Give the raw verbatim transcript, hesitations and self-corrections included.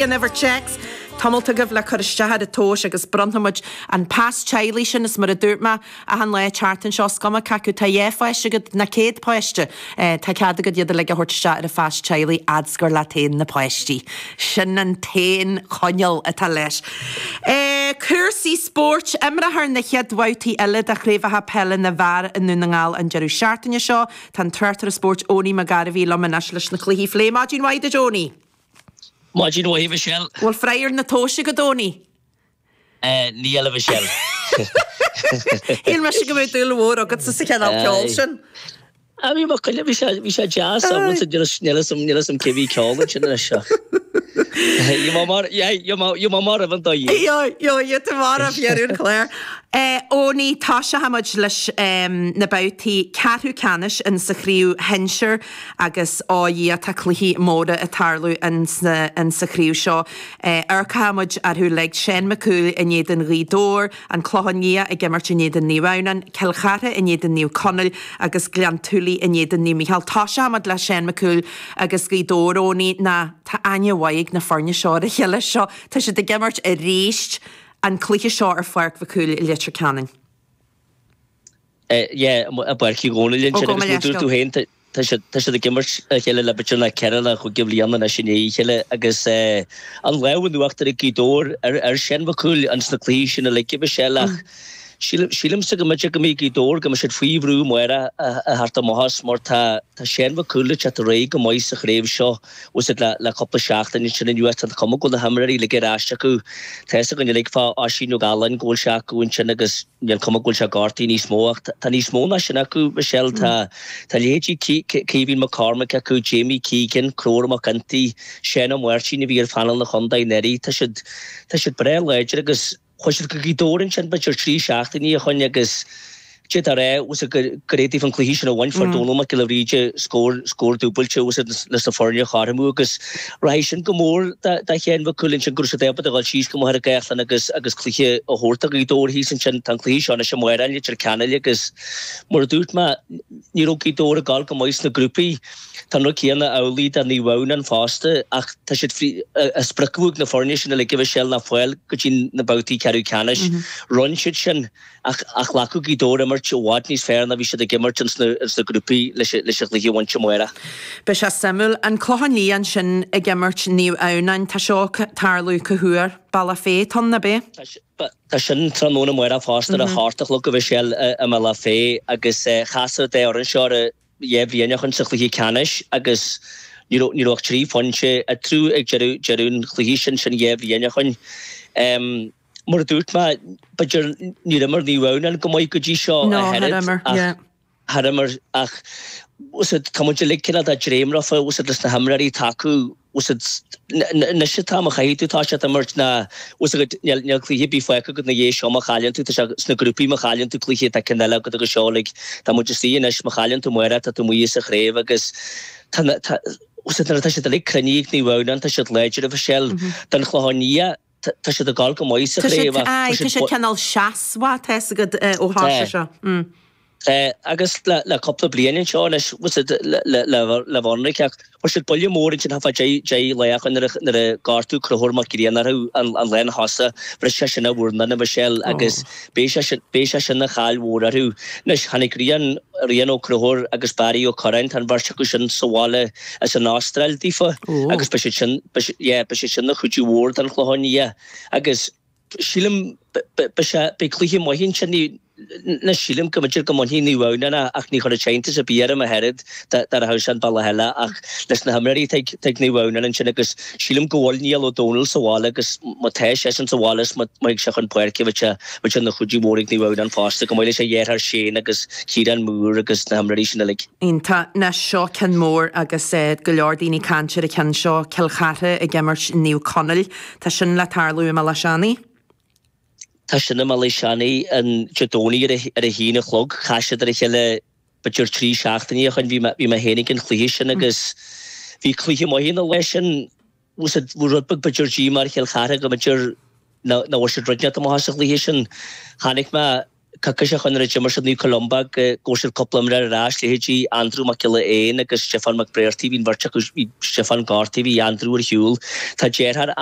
An uimhir téacs tá molta agaibh le cur isteach ar an tomhas agus bronnfaidh muid an pas teaghlaigh sin is mar a dúirt mé achan lá tseachtain seo is cuma cé acu tá dhá pháiste agat nó céad páiste. Tá cead agat iad uilig a thabhairt isteach ar an phas teaghlaigh fhad is gur leat féin na páistí. Sin an t-aon choinníoll atá leis. Cúrsaí spóirt, Imreofar na chéad bhabhtaí eile de chraobhacha peile na bhfear i nDún na nGall an deireadh seachtaine seo. Tá an tráchtaire spóirt Eoiní Mac Gairbhí liom anois leis na cluichí a phlé. Maidin mhaith duit Eoiní! Maidin mhaith a Mhichelle. Bhfuil freagra na tomhaise agat Eoiní? Níl a Mhichelle. Shíl mise go mbeadh dúil mhór agatsa sa chineál ceoil sin. Ah bhí mo choinne, bhí sé, bhí sé deas ábalta, níl fhios níl fhios agam cé bhí ceol ansin anois ach. Gheobhaidh mar, yeah, gheobhaidh mar roimh an dá dhíobh. Gheobhaidh, gheobhaidh tú mar roimh dheireadh an chláir. Eoiní, toiseoidh muid leis na babhtaí ceathrú ceannais in sa chraobh shinsir. Agus ó Dhia tá cluichí móra ag tarlú in sa chraobh seo. Amharcfaidh muid orthu uilig, Seán Mac Cumhaill in éadan Ghaoth Dobhair, An Clochán Liath ag imirt in éadan Naomh Adhamhnáin, Cill Chartha in éadan Naomh Conaill agus Gleann tSúilí in éadan Naomh Mícheál. Toiseoidh muid le Seán Mac Cumhaill agus Gaoth Dobhair, Eoiní, ná tá aithne mhaith ag na foirne seo ar a chéile seo. Tá siad ag imirt arís an cluiche seo ar Pháirc Mhic Cumhaill i Leitir Ceanainn. Yeah, i bPáirc Uí Dhónaill ansin agus mar a dúirt tú féin, tá siad tá siad ag imirt a chéile le b'fhéidir na ceithre nó chúig de bhliana anois i ndiaidh a chéile agus an lámh in uachtar ag Gaoth Dobhair ar ar Seán Mac Cumhaill ins na cluichí sin uilig a Mhichelle ach sílim sílimse go mb'fhéidir go mbeidh Gaoth Dobhair go mbeidh siad faoi bhrú amárach a theacht amach as mar tá tá Seán Mac Cumhaill ag teacht ar aghaidh go maith sa chraobh seo bhfuil a fhios agat le le cúpla seachtain ansin anuas tá an chuma go bhfuil na himreoirí uilig ar ais acu tá fhios againn uilig fá Oisín Ó Galláin go bhfuil sé acu ansin agus Níl cuma go bhfuil sé gortaithe níos mó ach tá níos mó ná sin acu, Michelle. Tá tá leithéidí Caoimhín McCormack acu, Jamie Keegan, Conchúr Mac Ginty, Seán Ó Máirtín a bhí ar phainéal na chontae anuraidh. Tá siad tá siad breá láidir agus chuaigh siad go Gaoth Dobhair ansin b'fhéidir trí seachtainí ó shoin agus d'fhéadfá a rá bhfuil a fhios agat gur gur daofa an cluiche sin a bhaint fuair Dónal Mac Giolla Bhríde scór scór dúbailte bhfuil a fhios agat leis na foirne a chothromú agus rachaidh sin go mór do Sheán Mhic Cumhaill ansin go raibh siad ábalta a dhul síos go Machaire Gathlán agus agus cluiche a thabhairt do Ghaoth Dobhair thíos ansin. Tá an cluiche seo anois amárach i Leitir Ceanainn agus mar a dúirt mé ní raibh Gaoth Dobhair ag dul go maith sna grúpaí. Tá an rud céanna amhlaidh do Naomh Adhamhnáin fosta ach tá siad faoi an sprioc a bhí ag na foirne sin uilig a Mhichelle ná fáil go dtí na babhtaí ceathrú ceannais. Rinne siad sin. Ach ghlacfadh Gaoth Dobhair imirt i bhfad níos fearr ná bhí siad ag imirt ins na grúpaí leis an chluiche a bhaint amárach. Beidh sé suimiúil. An Clochán Liath ansin ag imirt Naomh Adhamhnáin. Tá seo ag tarlú cá huair? Bealach Féich atá ann, ab é? Tá sin tráthnóna amárach fosta ar a hocht a chlog a Mhichelle i mBealach Féich agus chas an dá fhoireann seo ar dhá bhliain ó shoin sa chluiche ceannais agus ní raibh ní raibh ach trí phointe eatarthu ag deireadh deireadh an chluiche sin, sin dhá bhliain ó shoin. Mar a dúirt mé, b'fhéidir níor imir Naomh Adhamhnáin go maith go dtí seo No, a char oiread imir, ach yeah. char imir ach bhfuil a fhios agat tá muid uilig cineál de dréim rofa bhfuil a fhios agat leis na himreoirí atá acu bhfuil a fhios agat anois atá má chaithfidh tú toiseacht imirt ná bhfuil a fhios agat níl níl cluiche ar bith fágtha agat ina dhiaidh seo má chailleann tú tá sé sna grúpaí má chailleann tú cluiche tá ceann eile agat agus seo like tá muid istigh anois má chailleann tú amárach tá tú amuigh as an chraobh agus tá na tá bhfuil a fhios agat nuair atá siad uilig cruinnithe ag Naomh Adhamhnáin tá siad láidir a Mhichelle don Chlochán Liath Tá siad ag dul go maith sa Tá siad, chraobh ach aye, tá tá siad siad cineál seasmhach, tá fhios agat, ó Tá. thoisigh seo. Mm. Tá, agus le le cúpla bliain anseo anois, bhfuil a fhios agat, le le le le bhionraic ach fuair siad buille mór ansin thart fá deich deich lá ó shoin nuair a nuair a gortaíodh Conchúr Mac Grianna orthu an an lá ina thosaigh, bhris sé sin a mhurnán a Mhichelle agus Oh. beidh sé sin beidh sé sin ina chaill mhór orthu. Anois tháinig Rian Rian Ó Conchúir agus Barry Ó Curráin, tá an bheirt acu sin sa bhaile as an Astráil daofa Oh. agus beidh siad sin beidh siad yeah beidh siad sin ina chuidiú mhór don Chlochán Liath agus sílim beidh sé beidh cluiche maith ansin ní ní sílim go mb'fhéidir go mbainfidh Naomh Adhamhnáin é ach ní chuirfeadh sé iontas ar bith orm ach oiread dá dá rachadh sé an bealach eile ach leis na himreoirí atá ag atá ag Naomh Adhamhnáin ansin agus sílim go bhfuil Niall Ó Dónaill sa bhaile agus má tá seisean sa bhaile is má má thig sé chun páirce bheadh sé bheadh sé ina chuidiú mhór ag Naomh Adhamhnáin fosta chomh maith leis a dheartháir Shane agus Ciarán Moore agus na himreoirí sin uilig. Iontach. Anois seo ceann mór agus go leor daoine ag caint ar an cheann seo, Cill Chartha ag imirt Naomh Conaill. Tá sin le tarlú i mBealach Seanaidh. Tá sin i mBealach Seanaidh an Dé Domhnaigh ar a ar a haon a chlog. Chas siad ar a chéile b'fhéidir trí seachtainí ó shoin. Bhí mé bhí mé féin ag an chluiche sin agus bhí cluiche maith ina lá sin. Bhfuil a fhios agat rud beag b'fhéidir díomá ar Chill Chartha go mb'fhéidir nach bhfuair siad rud inteacht amach as an chluiche sin. Chonaic mé Coicís ó shoin nuair a d'imir siad Naomh Columba go raibh siad cúpla imreoir ar ais, leithéidí Andrew Mac Giolla Éin agus Stiofán Mac Bréartaigh, bhí an bheirt acu, bhí Stiofán gortaithe, bhí Andrew ar shiúl. Tá deartháir